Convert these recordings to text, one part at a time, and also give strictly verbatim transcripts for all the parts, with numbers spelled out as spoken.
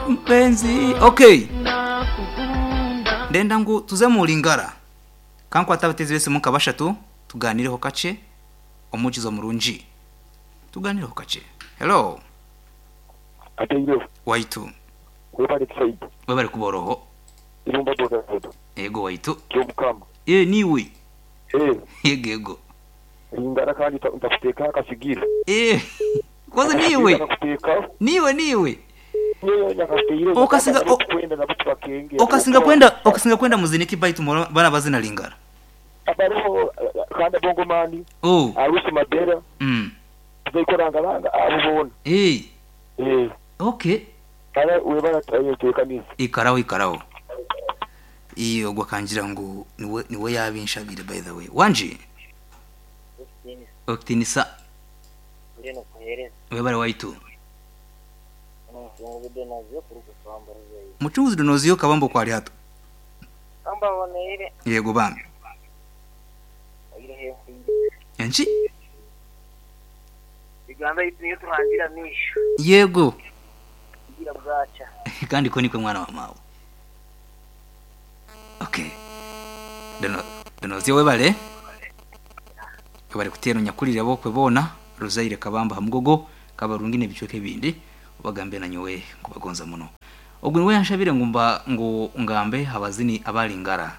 Mpenzi, okay, ndenda ngu tuze mu Lingara, kankwata abatezi bese muka bashatu, tuganireho kace omukizo murungi, tuganireho kace. Hello. Ateiro. Waitu. Webale Saidi. Webale kuboroho. Irumba boda boda. Ego waitu. Kyomukama. Eh, niwe. Eh. Yego yego. Lingara kandi ntakuteka akasigira. Eh. Kwanza niwe. Niwe niwe. Okasinga okasinga kwenda okasinga kwenda muziniki baitu bana bazina Lingara. Abaruho kanda bongo mani. Oh. Arusi madera. Mm. Tuzikoranga abo bona. Eh. Eh. Okay. Kare webara tayetekaniza. Ikaraho ikaraho. Iyo gwakangira ngo niwe niwe yabinshabire, by the way. Wanje. Oktinisa. Webare waitu. Muchunguzi donoziyo kabambo kwali hato. Kamba boneire. Yego bambi. Enchi? Uganda yitu turangira misho. Yego. Kugira bwacha. Kandi ko nikwe mwana wa mawe. Okay. Dono donoziyo webale. Webale kutero nyakulira bokwe bona Rozaire Kabamba hamugogo kabarungine bichweke bindi bagambe na nyowe kubagonza muno. Ogwo niwe yanshabire ngumba ngo ngambe habazini abalingara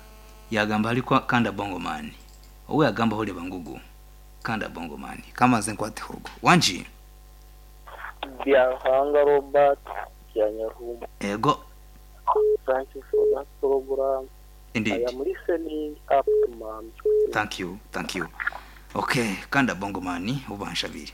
yagamba aliko kanda bongo man. Owe yagamba hole bangugu kanda bongo man kama zenkwate hogo. Wanji Byahanga Robert Kyanyarumba. Ego. Thank you for that program. Indeed. I am listening up to mom. Thank you, thank you. Okay, kanda bongo man ubanshabire.